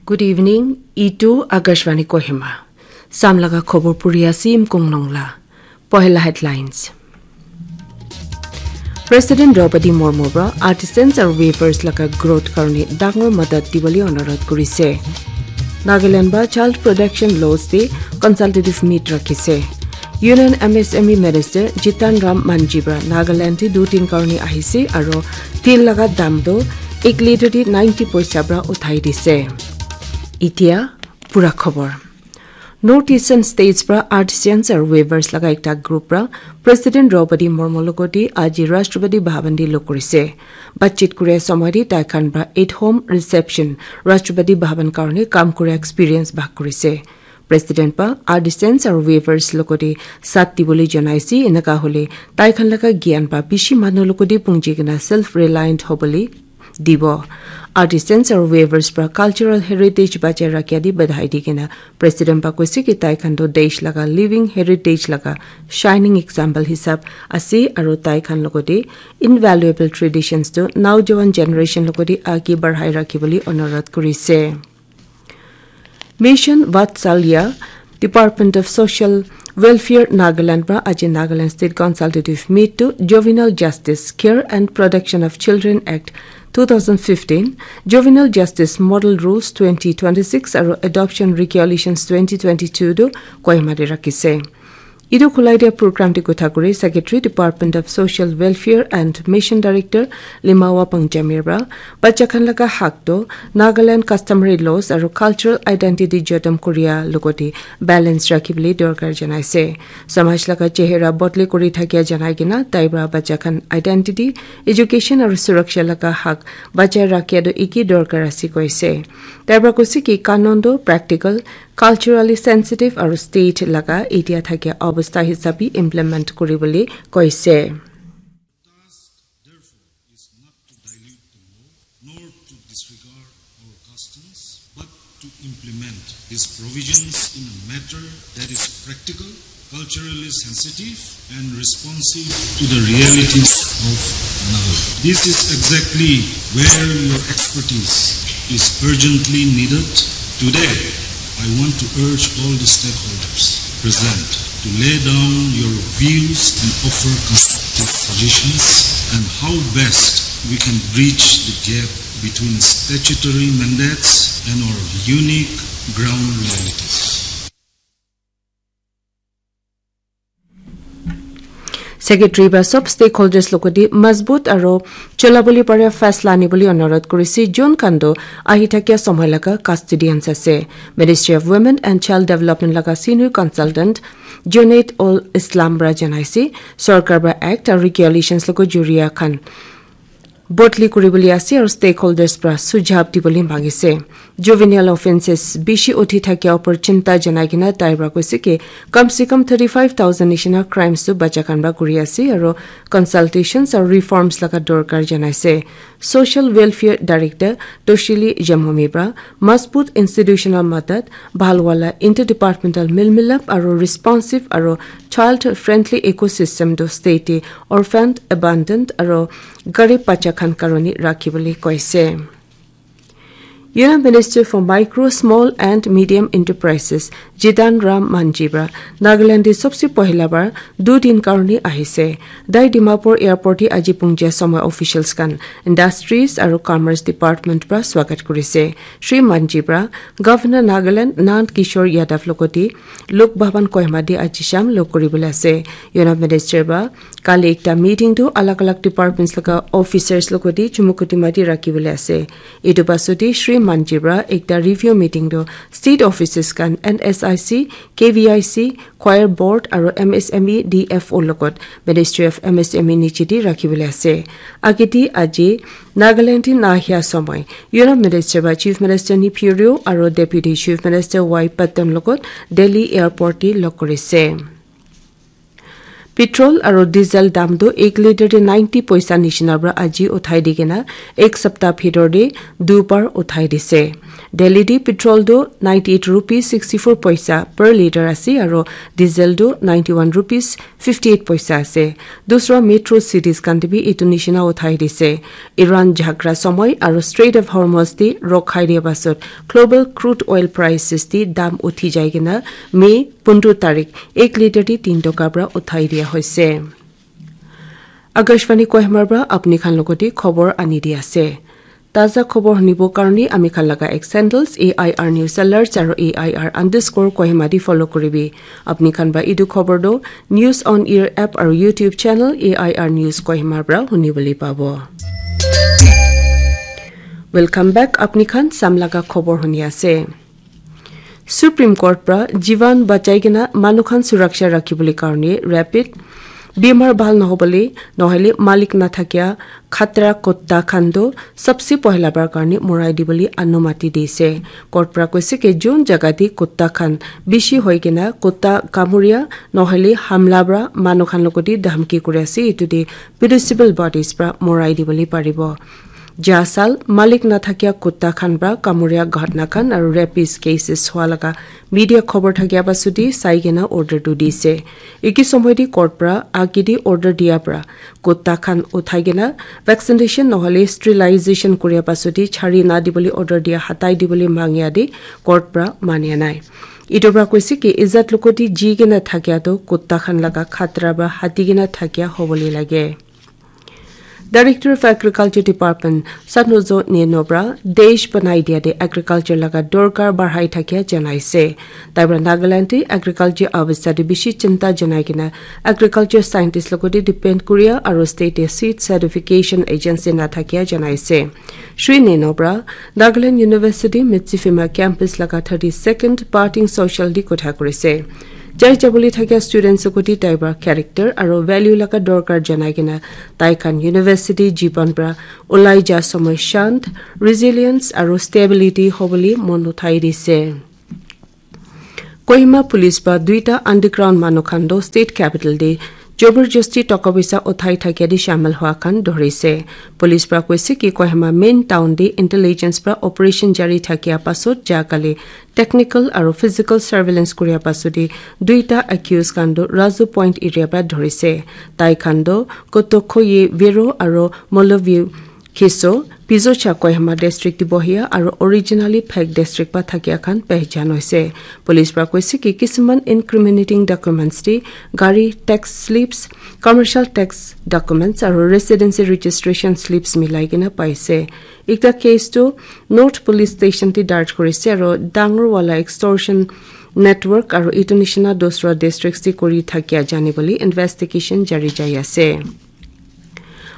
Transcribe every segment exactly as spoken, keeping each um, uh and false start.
Good evening, itu Akashvani Kohima. Samlaga khobor puri ase Imkong Nongla. Pohela headlines. President Draupadi Murmu pra artisans aru weavers laga growth karone dangor madad dibole onurodh kurise. Nagaland ba child protection laws te consultative meet rakhise. Union M S M E Minister Jitan Ram Manji pra Nagaland te dutin karone ahise aru til laga dam to ek litre te ninety paisa pra uthai dise. Itia pura khobor. North Eastern States pra artisans aru weavers laga ekta group pra President Draupadi Murmu logoti aji Rashtrapati Bhavan te log kurise. Batchit kure somoy te tai khan pra at home reception Rashtrapati Bhavan karone kam kure experience bhag kurise. President pa artisans aru weavers logoti sat dibole janaise, enaka hole tai khan laga gyan pa bishi manu logoti pungji kena self reliant hobole dibo. Artisans aru weavers pra cultural heritage bachai rakhia di badhai di kena President pa koise ki tai khan to desh laga living heritage laga shining example hisab ase aru tai khan logoti invaluable traditions to naujawan generation logoti age badhai rakhibole onurodh kurise. Mission Vatsalya, Department of Social Welfare Nagaland pra aji Nagaland State Consultative Meet to Juvenile Justice, Care and Protection of Children Act two thousand fifteen, Juvenile Justice Model Rules twenty twenty-six aru Adoption Regulations twenty twenty-two to Kohima te rakhise. Etu khulai dia program te kotha kuri Secretary Department of Social Welfare and Mission Director Limawa Pangjamir pra bacha khan laga hak to Nagaland customary laws aru cultural identity jotom kuria logoti balance rakhibole dorkar janaise. Samaj laga chehra bodli kuri thakia janai kena tai pra bacha khan identity, education aru suraksha laga hak bachai rakhia to iki dorkar ase koise. Tai pra koise ki kanun to practical, culturally sensitive aru state laga etia thakia obostha hisabi implement kuribole koise. Task, therefore, is not to dilute the law nor to disregard our customs, but to implement these provisions in a manner that is practical, culturally sensitive, and responsive to the realities of Nagaland. This is exactly where your expertise is urgently needed. Today, I want to urge all the stakeholders present to lay down your views and offer constructive suggestions on how best we can bridge the gap between statutory mandates and our unique ground realities. Secretary ba sob stakeholders logoti mazbut aro cholabole pare faisla anibole onurodh kurise, jon khan toh ahi thakia somoy laga custodians ase. Ministry of Women and Child Development laga senior consultant Junaid ul Islam para janaise, sorkar para act aru regulations logot joriya khan bodli kuribole ase aru stakeholders para sujhav dibole mangise. Juvenile offences bishi uthi thakia upor chinta janai kena tai para koise ki kam se kam thirty five thousand nishina crimes tu bacha khan para kuri ase aru consultations aru reforms laga dorkar janaise. Social Welfare Director Toshili Jamhomi para mazbut institutional madad, bhal wala interdepartmental milmilap aru responsive aru child friendly ecosystem tu state te orphaned, abandoned aru garib bacha khan karone rakhibole koise. Union Minister for Micro, Small and Medium Enterprises, Jitan Ram Manji para Nagaland te sobse pohila bar du din karone ahise. Tai Dimapur Airport te aji pungja somoy officials khan, industries aru commerce department para swagat kurise. Shri Manji para Governor Nagaland Nand Kishore Yadav logote Lok Bhavan Kohima te aji sham log kuribole ase. Union Minister para kali ekta meeting tu alag alag departments laga officers logote Chumukedima te rakhibole ase. Etu pasode Shri Manji para ekta review meeting tu state offices khan, N S I C, K V I C, choir board aru M S M E D F O logot Ministry of M S M E niche te rakhibole ase. Agete aji Nagaland te nahia somoy Union Minister para Chief Minister Neiphiu Rio aru Deputy Chief Minister Y Patton logot Delhi Airport te log kurise. Petrol aro diesel dam tu ek litre te ninety paisa nishina pra aji uthai di kena ek sapta bhitor te du bar uthai dise. Delhi te petrol tu ninety eight rupees sixty four paisa per litre ase aro diesel tu ninety one rupees fifty eight paisa ase. Dusra metro cities khan te bi etu nishina uthai dise. Iran jhagra somoi aro Strait of Hormuz te rok khai dia pasot global crude oil prices te dam uthi jai kena May pundro tarik ek litre te tin toka pra uthai dia hoise. Akashvani Kohima pra apni khan logote khobor ani di ase. Taza khobor hunibo karni ami khan laga ek sandals A I R News Alerts aro A I R underscore Kohima di follow kuribi. Apni khan ba idu khobor do News on Air app aro YouTube channel A I R News Kohima pra hunibole pabo. Welcome back, apni khan sam laga khobor huni ase. Supreme Court pra jivan bachai kena manu khan suraksha rakhibole karne rapid bimar bhal nohobole nohole malik nathakia khatra kutta khan do sabse pohila bar karne morai dibole anumati dise. Court pra koise ke jun jaga te kutta khan bishi hoi kena kutta kamuria nohole hamla pra manu khan logote dhamki kuri ase, etu te municipal bodies pra morai dibole paribo. Ja sal malik nathakia kutta khan pra kamuria ghatna khan aro rapist cases hua laga media khobor thakia pasudi sai kena order tu dise. Eki somoi te court pra agidi order dia pra kutta khan uthai kena vaccination nohole sterilization kuria pasudi chari na dibole order dia hatai dibole mangia de court pra mania nai. Etu pra koise ki izat logote ji kena thakia tu kutta khan laga khatra pra hati kena thakia hobole lage. Director of Agriculture Department Satnozo Neno pra desh banai dia de agriculture laga dorkar barhai thakia janaise. Tai pra Nagaland te agriculture avastha te bishi chinta janai kena agriculture scientist logote depend kuria aro state te seed certification agency na thakia janaise. Shri Neno pra Nagaland University Mitsifima campus laga thirty second parting social di kotha kurise. Jai jabole thakia students koti tai pra character aro value laga dorkar janai kena tai khan university jiban pra ulai ja samay shant, resilience aro stability hobole mon uthai dise. Kohima police pra duita underground manu khan do state capital de joborjosti toka poisa uthai thakia de shamil hua khan dhorise. Police pra koise ki Kohima main town de intelligence pra operation jari thakia pasot ja kali technical aro physical surveillance kuria pasudi duita accused khan do Razu Point area pra dhorise. Tai khan do Kotokhoye Vero aro Moloview Khiso, Pizocha Kohima district te bohia aro originally Phek district pa thakia khan pehchan hoise. Police pra koise ki kisiman incriminating documents te gari tax slips, commercial tax documents aro residency registration slips milai kena paise. Ekta case tu North Police Station te darj kurise aro dangor wala extortion network aro etu nishina dusra districts te kuri thakia jani bole investigation jari jai ase.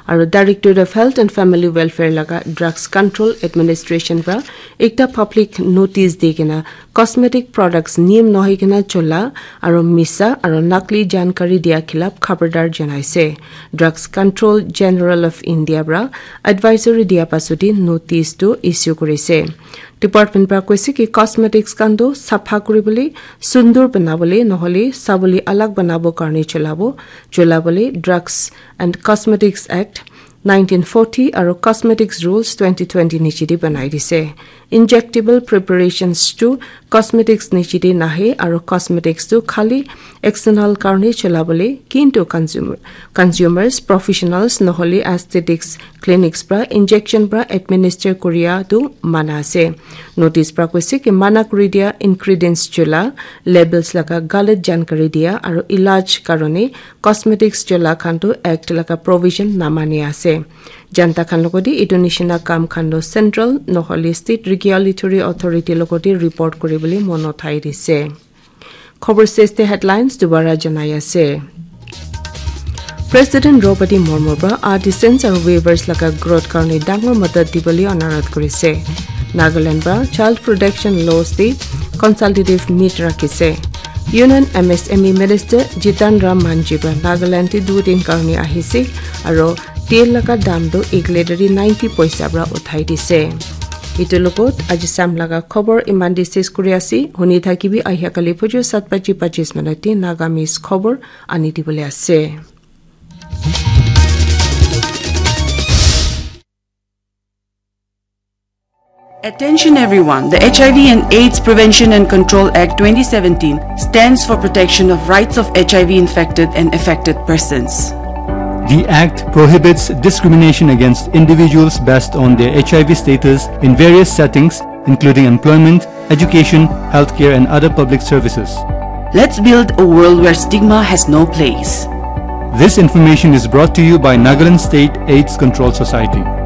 Aro Directorate of Health and Family Welfare laga Drugs Control Administration pra ekta public notice di kena cosmetic products niyam nohoi kena chola aro misa aro nakli jankari dia khilap khabardar janaise. Drugs Control General of India pra advisory dia pasudi notice tu issue kurise. Department pra koise ki cosmetics khan tu sapha kuribole, sundur banabole nohole sabole alag banabo karne cholabo, cholabole Drugs and Cosmetics Act nineteen forty aro Cosmetics Rules twenty twenty niche de banai dise. Injectable preparations tu cosmetics niche de nahe aro cosmetics tu khali external karne cholabole, kintu consumer, consumers, professionals nohole aesthetics clinics pra injection pra administer kuria tu mana ase. Notice pra koise ki mana kuri dia ingredients chola, labels laga galat jankari dia aro ilaj karone cosmetics chola khan tu act laga provision namani ase. Janta khan logote etu nishina kam khan tu central nohole state regulatory authority logote report kuribole mon uthai dise. Khobor seste headlines dubara janai ase. President Draupadi Murmu pra artisans aro weavers laga growth karne dangor madad dibole anurodh kurise. Nagaland pra child protection laws te consultative meet rakhise. Union M S M E Minister Jitan Ram Manjhi pra Nagaland te du din karne ahise aro tel laga dam tu ek litre te ninety paisa pra uthai dise. Itu logot aji sam laga khobor iman te ses kuri ase. Huni thakibi ahia kali phuju sat baji pachis minute te Nagamese khobor ani dibole ase. Attention everyone, the H I V and AIDS Prevention and Control Act twenty seventeen stands for protection of rights of H I V infected and affected persons. The Act prohibits discrimination against individuals based on their H I V status in various settings, including employment, education, healthcare, and other public services. Let's build a world where stigma has no place. This information is brought to you by Nagaland State AIDS Control Society.